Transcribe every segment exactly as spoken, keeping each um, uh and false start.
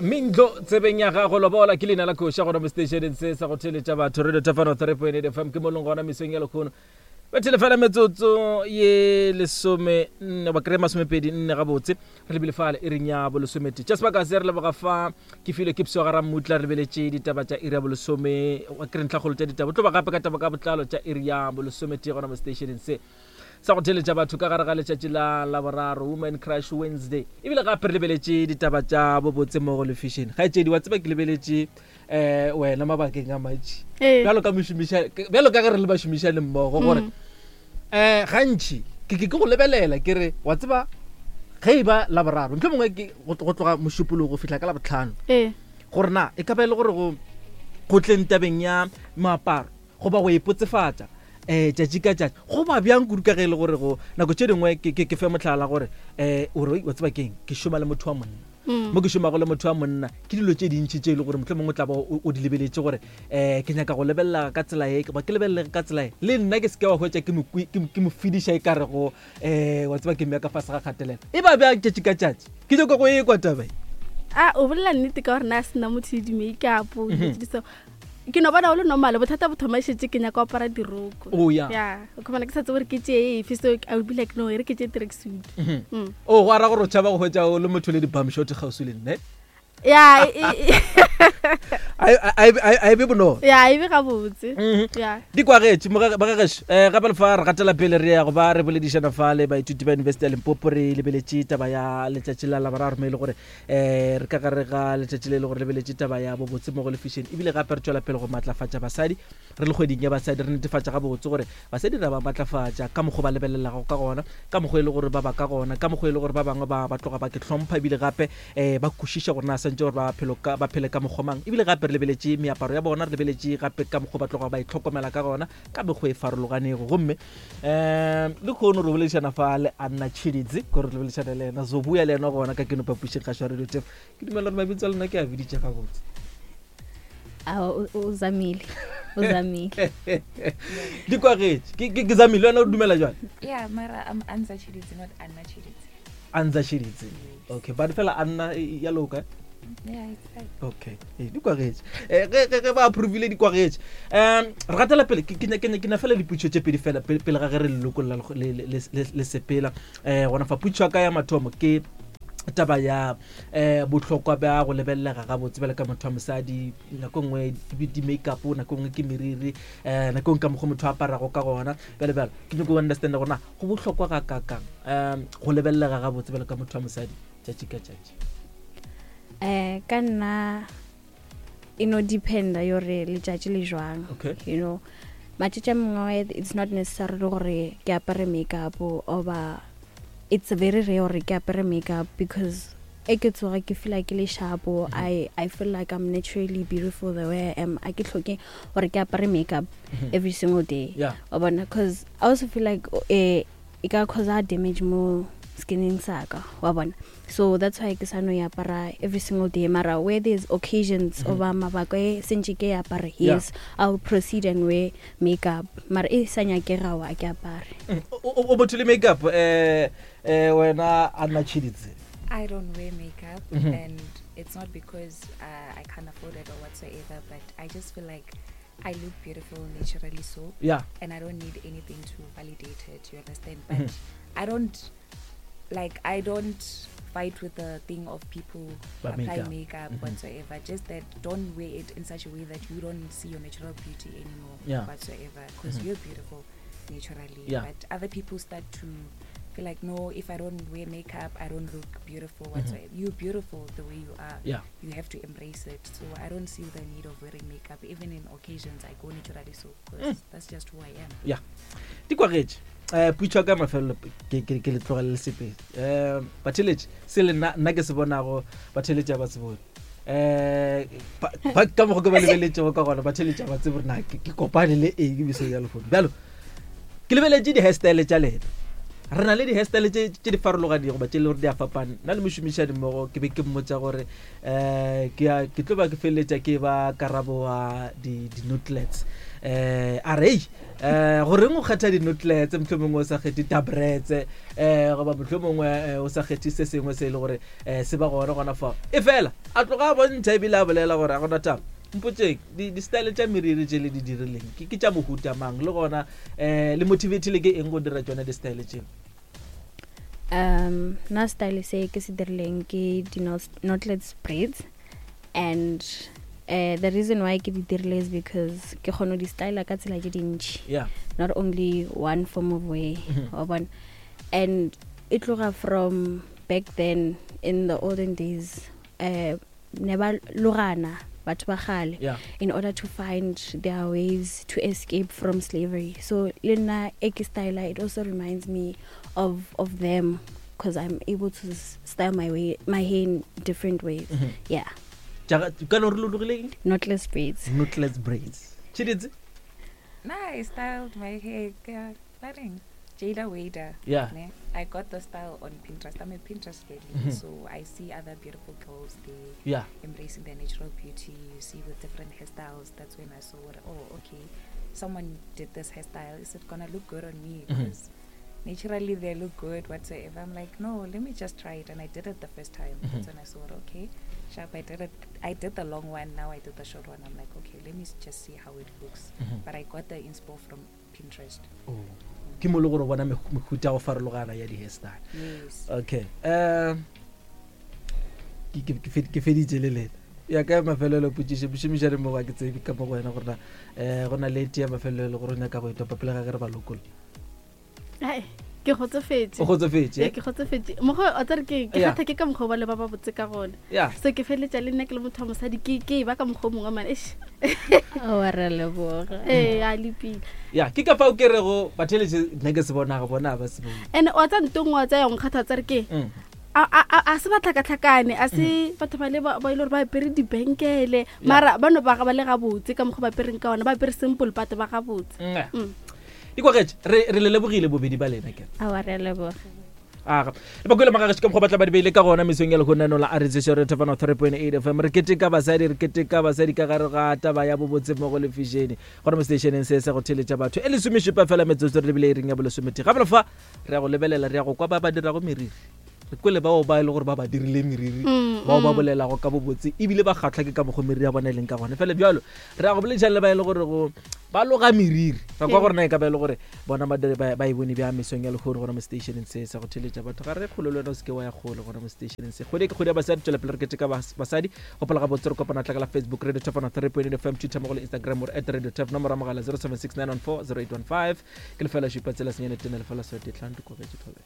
Mindlo tsebeng ya gago lobola ke leina la koša gona mo stationeng se sa go theletša batho radio tafano three point eight fm ke mo leng gona mesong ya lekgono bethele fela metsotso ye lesome nne ba kry masomepedi nne gabotse re lebile fale e reng ya bolesomete tša sebaka se re leboga fa ke filwe ke psoga ra mmutla re lebeletše ditaba tša iri ya bolesome wa kry ntlhakgolo tša ditaba tlo ba gape ka taba ka botlalo tša iri ya bolesomete gona mo stationeng se sa go theletša batho ka gare ga letšatši la laboraro woman crush wednesday ebile gape re lebeletše ditaba tša bobotse mo go lefišene kgaetšedi wa tseba ke lebeletše um wena mabakeng a mantši Ee. bjalo ka mošomiša bjalo ka ge re le bašomišane mmogo gore um gantši ke ke ke go lebelela ke re wa tseba ge e ba laboraro ntlho mongwe ke go go tloga mošupologo go fihla ka labotlhano ee gore na e ka ba e le gore go go tleng tabeng ya moaparo goba go ipotsefatša um tšatši ka tšatši go ba bjang kudu ka ge e le gore go nako tše dingwe ke- ke ke fe motlhala gore um ore wa tseba keng ke šoma le motho wa monna Mm. mo ke šomago le motho wa monna ke dilo tše dintšhi tše e le gore motlho mongwe o tla ba o o di lebeletše gore um ke nyaka go lebelela ka tsela e goba ke lebelele ka tsela e le nna ke seke wa hwetša ke mo kwi- ke mo- ke mo fediša e kare go um wa tseba ke mmea ka fase ga kgatelelo e ba bjang tšatši ka tšatši ke nyaka go e kwa taba e a o bolela nnete ka gore na a sena motho le di-makeup dilo tse di so ke no bona o le normal bothata bo thoma šetse ke nyaka go apara diroko Oh, yeah. ya o khumana ke sa tsebe gore ke tšee efe so I will be like no e re ke tšee tracksuit Mm. o go ara gore o tšhaba go hwetša o le motho le di-bumshot kgauswi le nne ya e- e- a e- a e- a e be bonolo ya e be gabotse Mhm. ya di kwagetše bagagešo um gape le fa re gatela pele re ya go ba re boledišana fa le baithuti ba university ya limpopo re lebeletše taba ya letšatši la laboraro mo e le gore um re ka gare ga letšatši le e le gore lebeletše taba ya bobotse mo go lefišene ebile gape re tšwela pele go maatlafatša basadi re le kgweding ya basadi re netefatša gabotse gore basadi re ba maatlafatša ka mokgwa ba lebelelago ka gona ka mokgwa e le gore ba ba ka gona ka mokgwa e le gore ba bangwe ba ba tloga ba ke hlompha ebile gape um ba kwešiša gore na swantse gore ba phelo ka- ba phele ka mokgwa mang ebile gape re lebeletše meaparo ya bona re lebeletše gape ka mokgwa ba tloga ba itlhokomela ka gona ka mekgwa e farologanego gomme um le kgono re boledišana fa le anna tšhiditse kore re boledišana le ena zobuya le ena gona ka keno papušeng kgašo ya radio tef ke dumela gore mabitso a lena ke a biditše gabotse Awa, o o zamile o zamile di kwagetše Ke- ke ke zamile wena o dumela jale Yeah, mara I'm Anza Chiditsi, not Anna Chiditsi. anza tšhiditse okay but fela anna e- e- ya loka eh? Yeah, it's fine. okay ee di kwagetše Eh, ge ge- ge ba approvile di kwagetše um re gatela pele ke- ke nya- ke nya- ke na fela diputšo tše pedi fela pele pele ga ge re lelokolla le- le- le le- le sepela um gona fa putšo ya ka ya mathomo ke taba ya um bohlokwa bja go lebelelega gabotse bjale ka motho wa mosadi nako nngwe di- di-makeup nako nngwe ke meriri um nako nngwe ka mokgwa motho a aparago ka gona bjale bjale ke nyako understanda gore na go bohlokwa ga kakang um go lebelelega gabotse bjale ka motho wa mosadi tšatši ka tšatši um ka nna e no dependa yore letšatši le jwang Okay. you know matšatši a mangwe it's not necessarily gore ke apare makeup oba it's very rare gore ke apare makeup because e ke tsoga ke feel like ke le sharpo I, i feel like i'm naturally beautiful the way i am a ke tlhoke gore ke apare makeup every single day Yeah. wa bona cause i also feel like eh, e ka causa damage mo skinning saka wa bona so that's why ke sa no e apara every single day mara where there's occasions mm -hmm. oba mabaka e sentše ke e apare Yeah. yes i'll proceed and wear makeup mara e sa nyakega wa ke apare Mm, o o- o motho le makeup um um wena anna tšhiditse I don't wear makeup, Mhm. and it's not because uh, I can't afford it or whatsoever, but I just feel like I look beautiful naturally so, yeah and I don't need anything to validate it. You understand? But Mhm. I don't like I don't fight with the thing of people Ba apply makeup. makeup, Mhm. whatsoever. Just that don't wear it in such a way that you don't see your natural beauty anymore Yeah. whatsoever. Because Mhm. you're beautiful naturally. Yeah. But other people start to feel like no, if I don't wear makeup, I don't look beautiful Mhm. whatsoever. You're beautiful the way you are. yeah You have to embrace it. So I don't see the need of wearing makeup. Even in occasions, I go naturally so because Mm. that's just who I am. di kwagetše um putšo ya ka mafelelo ke ke- ke le tlogele le sepedi um batheletše se le nna nna ke se bonago batheletše a ba se bone um ba- ba- ka mokgwa ke ba lebeletšego ka gona batheletše a ba tsebe gore na ke ke kopane le eng mesong ya lehono bjalo ke lebeletše di-hairstyle tša lena re na le di-hairstyle tše tše di farologanego ba tše e le gore di a fapana nna le mošomišani mmogo ke be ke mmotsa gore um ke ya- ke tlo ba ke feleletša ke ba karabo wa di-nutlets um a re um goreng o kgetha dinotletse mohlomongwe o sa kgethe tabretse um goba mohlomongwe o sa kgethe se sengwe se e le gore um se ba gona gona fao. E fela a tloga a bontšha ebile a bolela gore a gona taba mpotseng di-style tša meriri tše le di dirileng ke ke tša mohuta mang, le gona um le motivatile ke eng go dira tšona di-style tšeo? Um nna style se ke se dirileng ke di-knotless braids, and uh, the reason why ke di dirile is because ke kgona go di styla ka tsela tše dintši, yeah not only one form of way, wa bona. And e tloga from back then in the olden days, uh, ne ba logana batho ba kgale yeah in order to find their ways to escape from slavery. So le nna e ke styla, it also reminds me of of them, because I'm able to s- style my way my hair in different ways. Mhm. Yeah, Tša- ka no re logile eng? knotless braids. Knotless braids. Tsheditse? Nah, I styled my hair. Yeah, nothing. Jada Wader. Yeah. Ne? I got the style on Pinterest. I'm a Pinterest girly, Mhm. so I see other beautiful girls, they yeah embracing their natural beauty. You see with different hairstyles. That's when I saw, oh, okay, someone did this hairstyle. Is it gonna look good on me? Mhm. Because naturally they look good whatsoever. I'm like, no, let me just try it. And I did it the first time. Mhm. That's when I saw it, okay, sharp. I did it. I did the long one. Now I did the short one. I'm like, okay, let me s- just see how it looks. Mhm. But I got the inspo from Pinterest. Oh. Ke mo le gore o bona mehu- mehuta ya go farologana ya di-hairstyle. Yes. Okay, um ke- ke- ke fe- ke feditše le lena ya ka mafelelo potšišo mošomišane mo ga ke tsebe ka mo go wena gore na um go na le tee ya mafelelo gore o nyaka go etopa pele ga ge re ba lokolla. Ai, ke kgotsofetse. O kgotsofetse? Ee, ke kgotsofetse mokgwa o tsare ke ke Yeah. kgatha ke ka mokgwa o ba le ba ba botse ka gona. Ya. So ke feleletša le nna ke le motho wa mosadi ke ke e ba ka mokgwa o mongwe mane eish. Oh, re leboga. Ee, a lepile. Ya, ke ka fao ke rego batheletše nna ke se bonago bona ga ba se bone. And wa tsa nto nngwe wa tsa ya nkgatha wa tsare ke Mm. a a- a a se ba tlhakatlhakane, a se batho ba le ba ba e le gore ba apere dibenkele, mara ba no ba ga ba le gabotse ka mokgwa ba apereng ka ona, ba apere simple but ba gabotse. Mm. Mm. Dikwagetše re re le lebogile bobedi ba lena ke Aowa, re a leboga. Aga le bakwele magageše ka mokgwa ba tla ba di beile ka gona mesong ya lehono la aretsešo re thefano three point eight F M. Re keteka basadi, re keteka basadi ka gare ga taba ya bobotse mo go lefešene gona mo stationeng se sa go theletša batho e lesomešupa fela metsotso re lebile e reng ya bolesometee. Gape fa re ya go lebelela, re ya go kwa ba ba dirago meriri, re kwele bao ba e le gore ba ba dirile meriri, Mm, bao ba mm. bolelago ka bobotse ebile ba kgatlha ke ka mokgwa meriri ya bona e leng ka gona. Fela bjalo re ya go boledišana le ba e le gore go ba loga meriri, ra kwa Ee. gore na e ka ba e le gore bona ba dire- ba ba e bone bjang mesong ya lehono gona mo stationeng se sa go theletša batho. Ga re kgole le wena o seke wa ya kgole gona mo stationeng se. Kgwedi e ke kgwedi ya basadi, tswela pele re keteka bas- basadi. Gopola gabotse re kopana tla ka la Facebook Radio Turf three point eight F M, Twitter mo go le Instagram or at Radio Turf, nomoro ya mogala zero seven six nine one four zero eight one five. Ke lefela šupa tsela senyane tene lefela swete tlhano dikobetše thobela.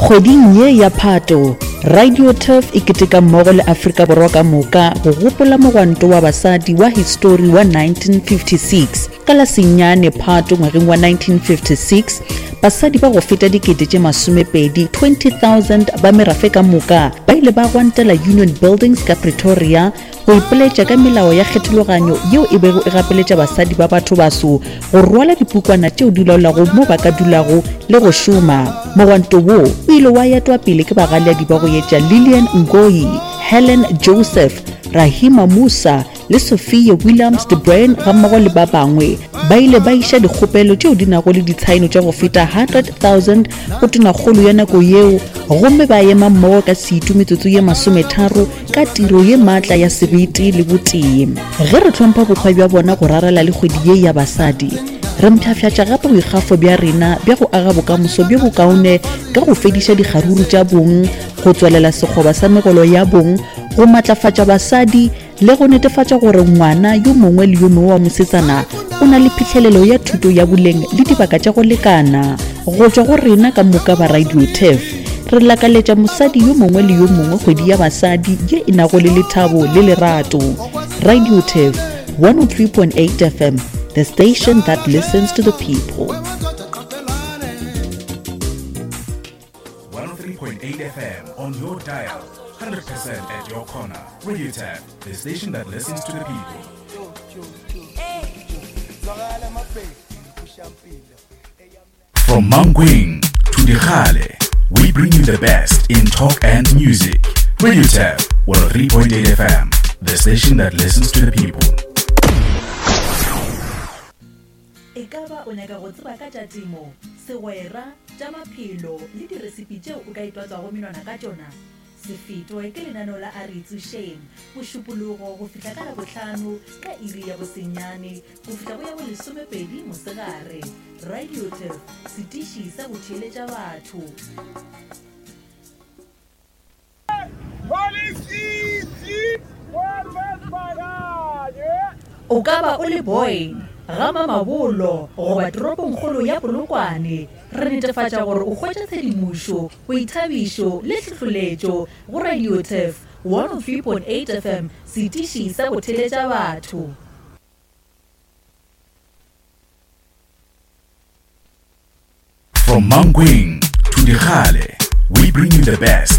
Kgweding ye ya Phato, Radio Turf e keteka mmogo le Afrika Borwa ka moka go gopola mogwanto wa basadi wa histori wa nineteen fifty-six. Ka la senyane Phato ngwageng wa nineteen fifty-six, basadi ba go feta dikete tše masomepedi twenty thousand ba merafe ka moka ba ile ba gwantela Union Buildings ka Pretoria go ipoletša ka melao ya kgethologanyo yeo e bego e gapeletša basadi ba batho baso go rwala dipukwana tšeo di laolago mo ba ka dulago le go šoma. Mogwanto wo o ile wa etwa pele ke bagaleadi ba go etša Lillian Ngoyi, Helen Joseph, Rahima Musa le Sophia Williams de Bruyn gammogo le ba bangwe. Ba ile ba iša dikgopelo tšeo di nago le ditshaeno tša go feta hundred thousand go tonakgolo ya nako yeo, gomme ba ema mmogo ka setu metsotso ye masometharo ka tiro ye maatla ya sebete le botee. Ge re hlompha bokgwa bja bona go rarela le kgwedi ye ya basadi, re mpshafšatša gape boikgafo bja rena bja go aga bokamoso bjo bokaone ka go fediša dikgaruru tša bong, go tswalela sekgoba sa megolo ya bong, go matlafatša basadi le go netefatša gore ngwana yo mongwe le yo mongwe wa mosetsana o na le phihlelelo ya thuto ya boleng le dibaka tša go lekana. Go tšwa go rena ka moka ba Radio Turf, re lakaletša mosadi yo mongwe le yo mongwe kgwedi ya basadi ye e nago le lethabo le lerato. Radio Turf one oh three point eight F M, the station that listens to the people. one oh three point eight F M on your dial, hundred percent at your corner. Radio Turf, the station that listens to the people. From Mankweng to Dikgale, we bring you the best in talk and music. Radio Turf, one oh three point eight F M, the station that listens to the people. E ka ba o nyaka go tseba ka tša temo, segwera, tša maphelo le diresipi tšeo o ka itwatswago menwana ka tšona? Se fetwe ke lenaneo la A Re Itsošeng, Mošupologo go fihla ka Labohlano ka iri ya bosenyane go fihla go ya bolesomepedi mosegare. Radio Turf, setiši sa go theeletša batho. O ka ba o le Boyne, ga Mamabolo goba toropongkgolo ya Polokwane, re netefatša gore o hwetša tshedimošo, boithabišo le tlhohleletšo go Radio Turf one oh three point eight F M, setiši sa go theeletša batho. From Mankweng to Dikgale, we bring you the best